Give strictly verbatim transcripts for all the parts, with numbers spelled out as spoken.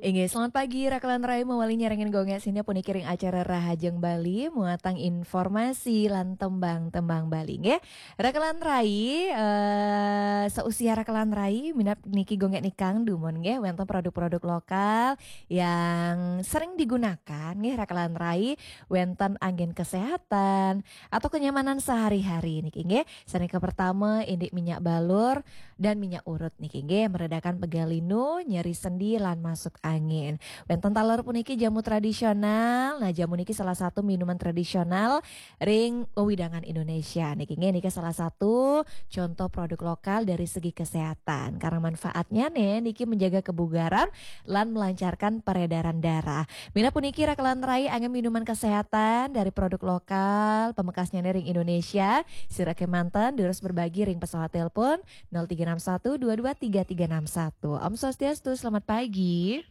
Inggih, selamat pagi, Rakelan Rai, mawali nyarengin gongek sineb puniki ring acara Rahajeng Bali, muatang informasi lan tembang-tembang Bali, nggih. Rakelan Rai, eh, seusia Rakelan Rai, minab niki gongek nikang dumun, nggih, wenten produk-produk lokal yang sering digunakan, nggih, Rakelan Rai, wenten anggen kesehatan atau kenyamanan sehari-hari niki, nggih. Sane kapertama, indik minyak balur dan minyak urut niki, nggih, meredakan pegal linu, nyeri sendi, lan masuk angin. Wenten taler puniki jamu tradisional. Nah, jamu niki salah satu minuman tradisional ring wewidangan Indonesia niki, nggih, nika salah satu contoh produk lokal dari segi kesehatan. Karena manfaatnya nih, niki menjaga kebugaran lan melancarkan peredaran darah. Minab puniki, Rakelan Rai, anggen minuman kesehatan dari produk lokal, pamekasnya nih ring Indonesia. Sira kemanten, durus berbagi ring pesawat telepon nol tiga enam satu dua dua tiga tiga enam satu. Om Swastiastu, selamat pagi.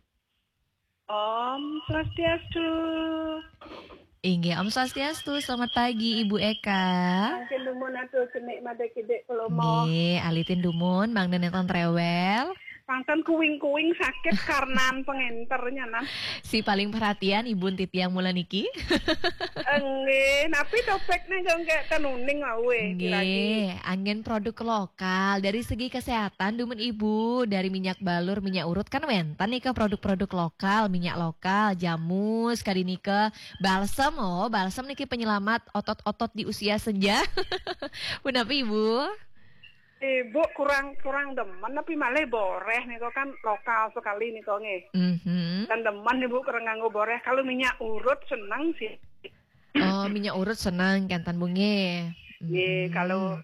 Om Swastiastu. Inggih, Om Swastiastu, selamat pagi, Ibu Eka. Mangkin dumun atur cenik made kidik kelomo. Nggih, alitin dumun, mangda nenten rewel. Pangten kuing-kuing sakit karnan pengenter nyanan. Si paling perhatian Ibu titiang mula niki. Enggih, napi topiknya jongkek tenuning awe. Nggih, anggen produk lokal. Dari segi kesehatan, dumun Ibu, dari minyak balur, minyak urut kan wenten nika produk-produk lokal, minyak lokal, jamu, sekali nika balsem, oh, balsem niki penyelamat otot-otot di usia senja. Punapi, Ibu? Ibu kurang, kurang demen, tapi malah boreh nika kan lokal sekali nika, nggih. Mhm. Dan demen Ibu kurang nganggo boreh. Kalau minyak urut seneng sih. Oh, minyak urut seneng kenten, Bu, nggih. Nggih, mhm. Kalau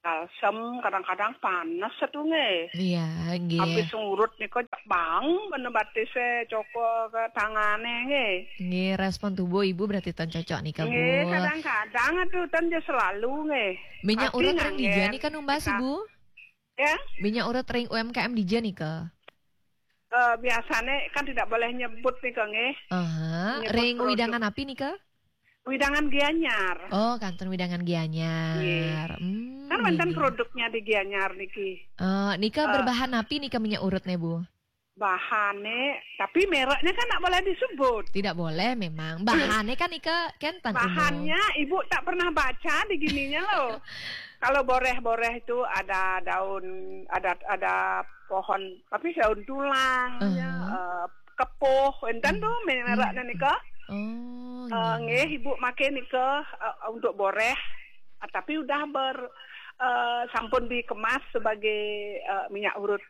balsem kadang-kadang panas itu, nggih. Iya, nggih. Habis ngurut nika bang, bener batise coko ke tangane, nggih. Nggih, respon tubuh Ibu berarti ten cocok nika, nggih, Bu. Kadang-kadang itu ten je selalu, nggih. Minyak urut ring dija nika numbas, Ibu? Ya? Minyak urut ring U M K M dija nika? Eh, biasane kan tidak boleh nyebut nika, nggih. Aha, nyebut ring produk. Wewidangan napi nika? Wewidangan Gianyar. Oh, kenten wewidangan Gianyar. Nggih. Hmm, kan wenten nggih, nggih. Produknya di Gianyar niki. Eh, nika, eh, berbahan napi nika minyak urutnya, Bu? Bahane, tapi mereknya kan nggak boleh disebut. Tidak boleh memang. Bahannya kan nika kenten umum. Bahannya Ibu tak pernah baca di gininya loh. Kalau boreh-boreh itu ada daun, ada, ada pohon, tapi daun tulang, aha, ya, eh, kepuh, enten, hmm, tuh mereknya, hmm, nika. Oh, eh, nggih, nggih. Nggih, Ibu make nika, eh, untuk boreh, ah, tapi udah ber, eh, sampun dikemas sebagai, eh, minyak urut.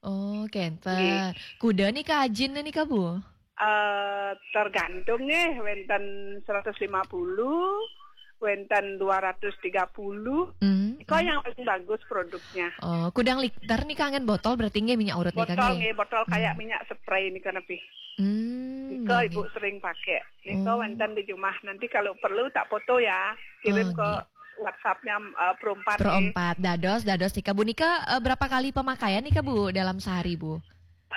Oh, kenten. Nggih. Kuda nika ajinnya nika, Bu? Eh, tergantung nggih, wenten seratus lima puluh, wenten dua ratus tiga puluh. Hmm, hmm. Nika yang paling bagus produknya. Oh, kudang liter nika anggen botol berarti nggih minyak urut nika nggih? Botol nggih, botol kayak, hmm, minyak spray nika napi. Hmm, nika nggih, Ibu nggih. Sering pakai. Nika, oh, wenten di rumah. Nanti kalau perlu tak foto ya, kirim, oh, ke nggih. WhatsApp-nya, eh, Pro empat, Pro empat. Dados, dados nika, Bu. Nika, eh, berapa kali pemakaian nika, Bu, dalam sehari, Bu?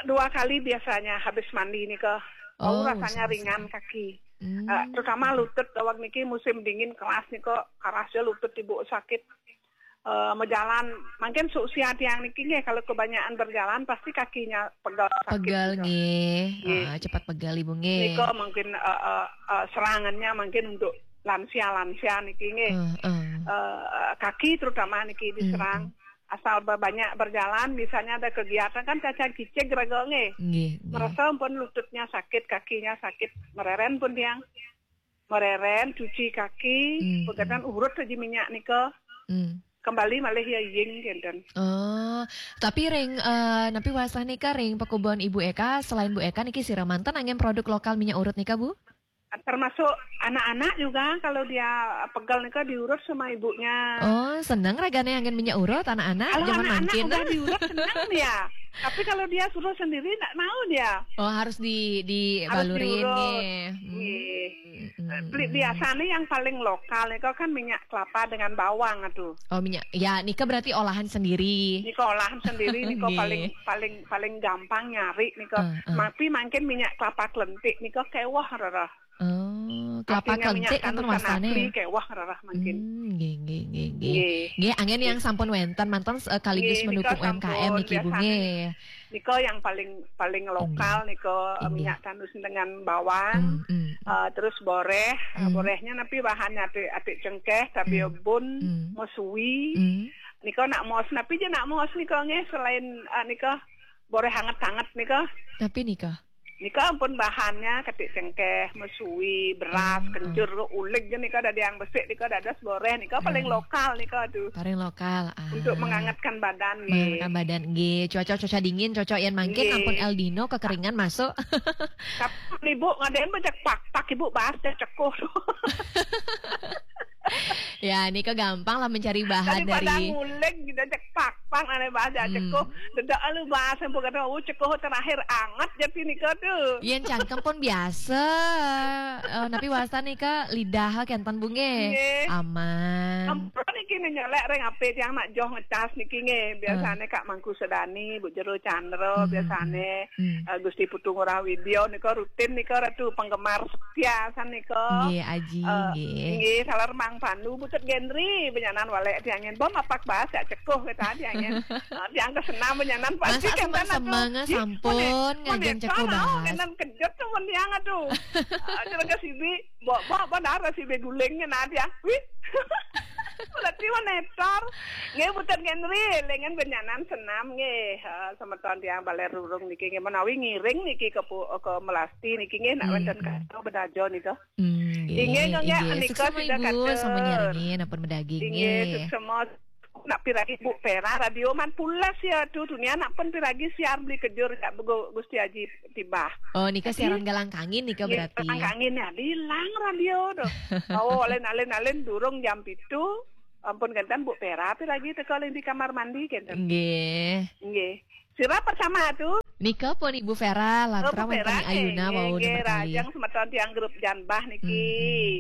Dua kali biasanya habis mandi nika. Oh, oh, rasanya ringan kaki. Hmm. Eh, terutama lutut, awak niki musim dingin keras nika, kerasnya lutut Ibu sakit. Eh, mejalan, mungkin seusia tiang niki nggih, kalau kebanyakan berjalan pasti kakinya pegal, sakit. Pegal nika. Nggih. Nggih. Ah, cepat pegal, Ibu, nggih. Nika mungkin, eh, eh, eh, serangannya mungkin untuk lansia-lansia niki nggih. Eh, eh. Eh, kaki terutama niki diserang. Hmm, hmm. Asal ba-, banyak berjalan, misalnya ada kegiatan kan caca kicik raga nggih. Nggih, nggih. Merasa pun lututnya sakit, kakinya sakit, mereren pun tiang. Mereren, cuci kaki, hmm, pegatan, hmm, urut aja minyak nika. Hmm. Kembali malih ya ying kenten. Oh, tapi ring, eh, napi wasah nika ring pakubon Ibu Eka, selain Bu Eka niki sira manten anggen produk lokal minyak urut nika, Bu? Termasuk anak-anak juga, kalau dia pegal nika diurut sama ibunya. Oh, seneng ragane anggen minyak urut anak-anak. Kalau zaman anak-anak mangkin udah diurut seneng dia. Tapi kalau dia suruh sendiri nggak mau dia. Oh, harus di, dibalurin. Harus diurut. Nggih. Hmm. Nggih. Hmm. Beli biasanya yang paling lokal itu kan minyak kelapa dengan bawang tuh. Oh, minyak. Ya, nika berarti olahan sendiri. Nika olahan sendiri, nika, nggih, paling, paling, paling gampang nyari nika. Eh, eh. Tapi mangkin minyak kelapa kelentik nika kewah rereh. Oh, kelapa kelentik kan termasane. Artinya minyak Tanusan Asli kewah rereh mangkin. Hmm, nggih, nggih, nggih, nggih. Nggih. Nggih, anggen yang sampun wenten manten sekaligus, nggih, mendukung nika U M K M sampun, niki, Bu, biasanya nggih. Nika yang paling paling lokal nika, eh, Inggih. Minyak tanus dengan bawang. Hmm, hmm. Eh, terus boreh, eh, Hmm. Borehnya napi bahannya atik, atik cengkeh, tapi Hmm. bun, Hmm. mesui. Hmm. Nika nak mos, napi je nak mos nika nggih selain, eh, nika boreh hangat-hangat nika. Napi nika? Nika ampun bahannya katik cengkeh, mesui, beras, Hmm, kencur, uleg je nika dadi yang besik nika dados boreh nika paling Hmm. lokal nika tu. Paling lokal. Ah. Untuk menghangatkan badan nggih. Menghangatkan badan nggih. Cuaca-cuaca dingin, cocok yang mangkin Nggih. Ampun El Nino kekeringan masuk. Tapi ibu ngadain banyak pak-pak ibu bahas dia cekuh tu. Ya, nika gampang lah mencari bahan Daripada dari nguleg gitu cek pak-pak ada bahas dia Hmm. cekuh. Dedak lu bahas yang kata oh cekuh terakhir anget jadi nika tu. Yen cangkem pun biasa. Eh, napi wasta nika lidah kenten Bu nggih. Nggih. Aman. Ampun niki nih nyelek reng ape tiang nak joh ngecas niki nggih. Biasanya Kak Mangku Sedani, Bu Jero Chandra, Hmm, biasanya Hmm. eh, Gusti Putu Ngurah Widya nika rutin nika ratu penggemar setia san nika. Nggih, Aji Eh, nggih. Nggih, salah remang pandu butut Gendri benyanan walek tiangin bom apak bahas ya cekuh kata tiangin. Eh, tiang kesenam benyanan pasti Masa kenten semang-semang atuh. Sampun ngajeng cekuh bahas. Kenten kejut temen tiang aduh. Aduh ke sibi, bok bok benar sibi gulingnya nah tiang. Wih. Berarti menetor. Nggih butut Gendri, lengan benyanan senam nggih. Eh, semeton tiang baler rurung niki nggih menawi ngiring niki ke pu- ke melasti niki nggih nak Hmm, wonten hmm. kado bedajo nika. Hmm, nggih, Inggih, nggih, inggih. Nika Suksma sida Ibu, katur. Sama nyaringin, ampun bedaging Inggih, nggih. Suksma nak piragi Bu Pera radio man pulas ya tu dunia nak pun piragi siar beli kejur ya Bu Gusti Haji Tibah. Oh, nika Tapi- siaran galang kangin nika Nggih, berarti. Kangin ya hilang radio tu. Oh, alin-alin alin durung jam pitu. Ampun kenten Bu Pera piragi teka di kamar mandi kenten. Nggih. Nggih. Sira pertama tu. Nika pun Ibu Vera Oh, lantaran Bu Vera, wonten Ayuna nggih, wau nggih, nembé kali. Rajang semeton tiang grup Janbah niki.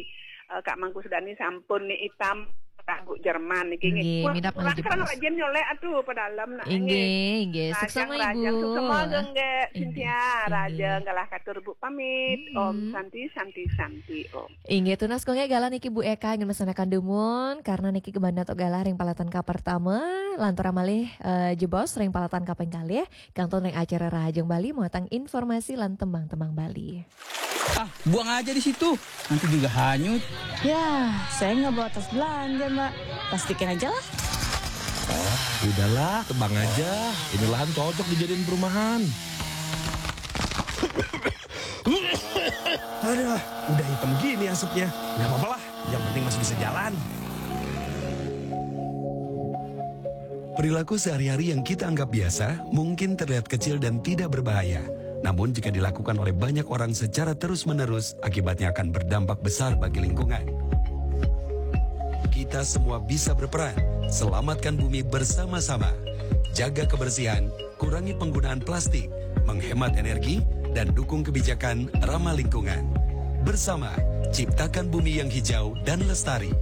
Hmm, Eh, Kak Mangku Sedani sampun ni itam lagu Jerman niki nggih. Nggih, Kurang- minap kurang malih kurang jebos. Rajin nyolek atuh pedalem nak. Inggih, inggih. Suksma Rajang, Ibu. Suksma nggih, Inggih, Cynthia, inggih. Rajang galah katur Bu pamit. Mm-mm. Om Santi, Santi, Santi, Om. Inggih tunas kula galah niki Bu Eka ingin mesanakan dumun karena niki kebandat galah ring palatan ka pertama, lantaran malih eh, jebos ring palatan kaping kalih, kantun ring acara Rahajeng Bali muatan informasi lan tembang-tembang Bali. Ah, buang aja di situ. Nanti juga hanyut. Ya, saya nggak bawa tas belanja, Mbak. Plastikin aja lah. Udahlah, tebang aja. Ini lahan cocok dijadiin perumahan. Aduh, udah hitam gini asapnya. Nggak apa-apa lah, yang penting masih bisa jalan. Perilaku sehari-hari yang kita anggap biasa mungkin terlihat kecil dan tidak berbahaya. Namun jika dilakukan oleh banyak orang secara terus-menerus, akibatnya akan berdampak besar bagi lingkungan. Kita semua bisa berperan. Selamatkan bumi bersama-sama. Jaga kebersihan, kurangi penggunaan plastik, menghemat energi, dan dukung kebijakan ramah lingkungan. Bersama, ciptakan bumi yang hijau dan lestari.